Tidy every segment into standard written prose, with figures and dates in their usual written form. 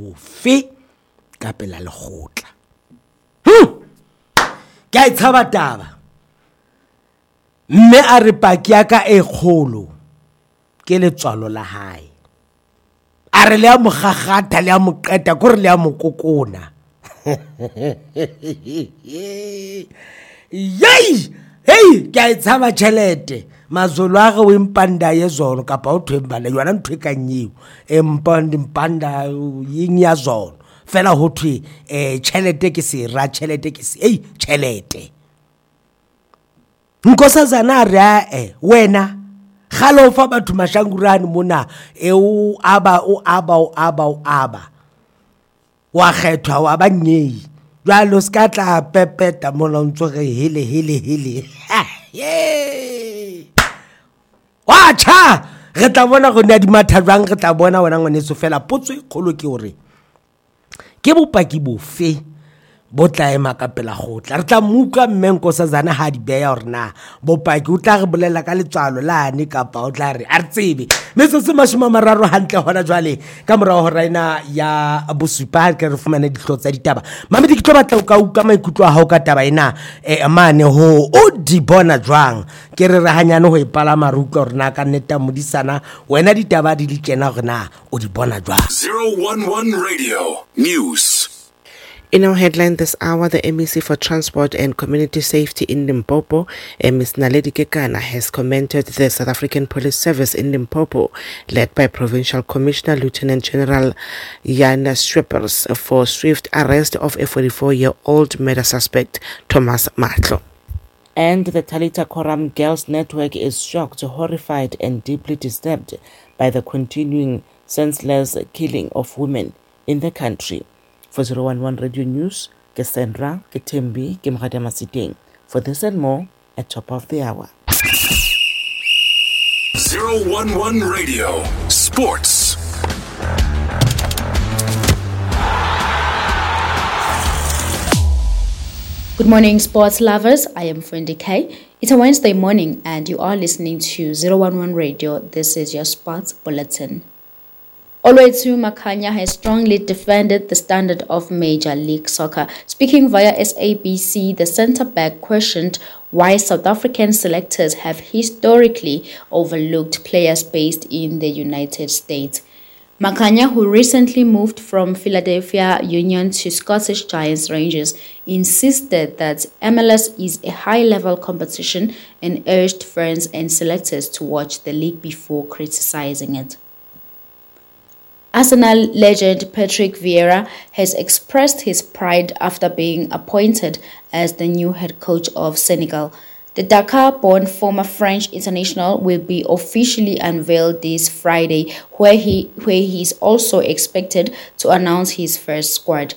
bofe ka pela lekgotla. Hm! Ke a e tshaba taba. Mme a re paki ya ka e kgolo ke letswalo la hae. A re le a mo gagatha le a mo qeta kore le a mo kokona. Yei! Hei, ke a e tshaba tšhelete. Mazolo a ge o empanda ye zono kapa o thweng bana yona ntho e kang eo. Empanda mpanda yeng ya zono. Fela ho thwe eh tšhelete ke sera, tšhelete ke se. Ei, tšhelete. Nkosazana a re ae wena gale o fa batho mashangurane mona e o aba o aba o aba o aba wa kgethwa wa ba nyei jwale o se ka tla pepeta mola o ntso re hele hele hele wa tšha re tla bona go ne a di matha jwang re tla bona wena ngwaneso fela potso e kgolo ke gore Ke bopaki bofe bo tla ema ka pela gotla? Re tla mo utlwa mme Nkosazana ha di beya gore na bopaki o tla re bolela ka letswalo lane kapa o tla re a re tsebe. Metsotso 30 hantle hona jwale ka morago hora ena ya bosupa ke re fumane dihlooho tsa ditaba. Mamedi ke tlo batla o ka utlwa maikutlo a hao ka taba ena eh, mane ho o di bona jwang. Ke re re hanyane ho e palama re utlwa hore na ka nnete modisana wena ditaba di le tjena hore na o di bona jwang. 011 Radio News. In our headline this hour, the MEC for Transport and Community Safety in Limpopo, eh, Ms. Naledi Kekana, has commended the South African Police Service in Limpopo, led by Provincial Commissioner Lieutenant General Jan Schweppers, for swift arrest of a 44-year-old murder suspect, Thomas Matlo. And the Talita Koram Girls Network is shocked, horrified, and deeply disturbed by the continuing senseless killing of women in the country. For 011 Radio News, ke Sandra, ke Thembi, ke Mogadia Masiteng. For this and more, at top of the hour. 011 Radio Sports. Good morning, sports lovers. I am Fendi K. It's a Wednesday morning, and you are listening to 011 Radio. This is your sports bulletin. Olwethu Makhanya has strongly defended the standard of Major League Soccer. Speaking via SABC, the centre-back questioned why South African selectors have historically overlooked players based in the United States. Makhanya, who recently moved from Philadelphia Union to Scottish Giants Rangers, insisted that MLS is a high-level competition and urged fans and selectors to watch the league before criticizing it. Arsenal legend Patrick Vieira has expressed his pride after being appointed as the new head coach of Senegal. The Dakar-born former French international will be officially unveiled this Friday, where he is also expected to announce his first squad.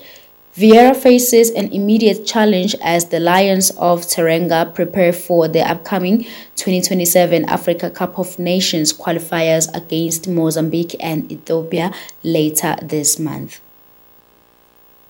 Vieira faces an immediate challenge as the Lions of Teranga prepare for the upcoming 2027 Africa Cup of Nations qualifiers against Mozambique and Ethiopia later this month.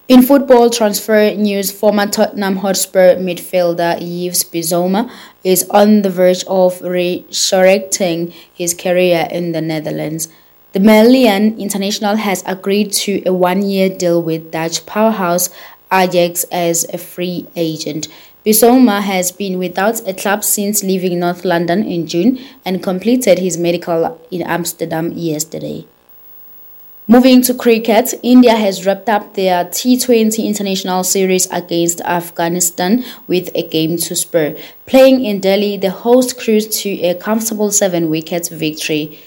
In football transfer news, former Tottenham Hotspur midfielder Yves Bissouma is on the verge of resurrecting his career in the Netherlands. The Malian international has agreed to a one-year deal with Dutch powerhouse Ajax as a free agent. Bissouma has been without a club since leaving North London in June and completed his medical in Amsterdam yesterday. Moving to cricket, India has wrapped up their T20 International Series against Afghanistan with a game to spare. Playing in Delhi, the host cruised to a comfortable 7-wicket victory.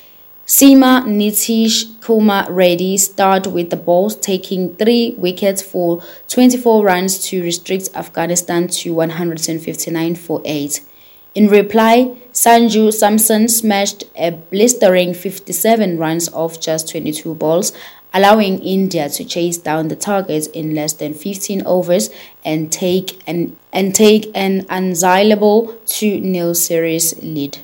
Seema Nitish Kumar Reddy starred with the balls, taking 3 wickets for 24 runs to restrict Afghanistan to 159 for 8. In reply, Sanju Samson smashed a blistering 57 runs off just 22 balls, allowing India to chase down the target in less than 15 overs and take an unassailable 2-0 series lead.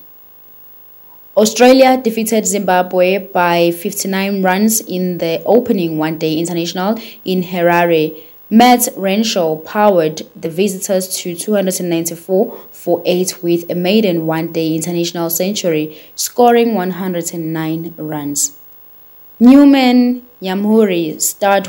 Australia defeated Zimbabwe by 59 runs in the opening one-day international in Harare. Matt Renshaw powered the visitors to 294 for 8 with a maiden one-day international century, scoring 109 runs. Newman Nyamhuri starred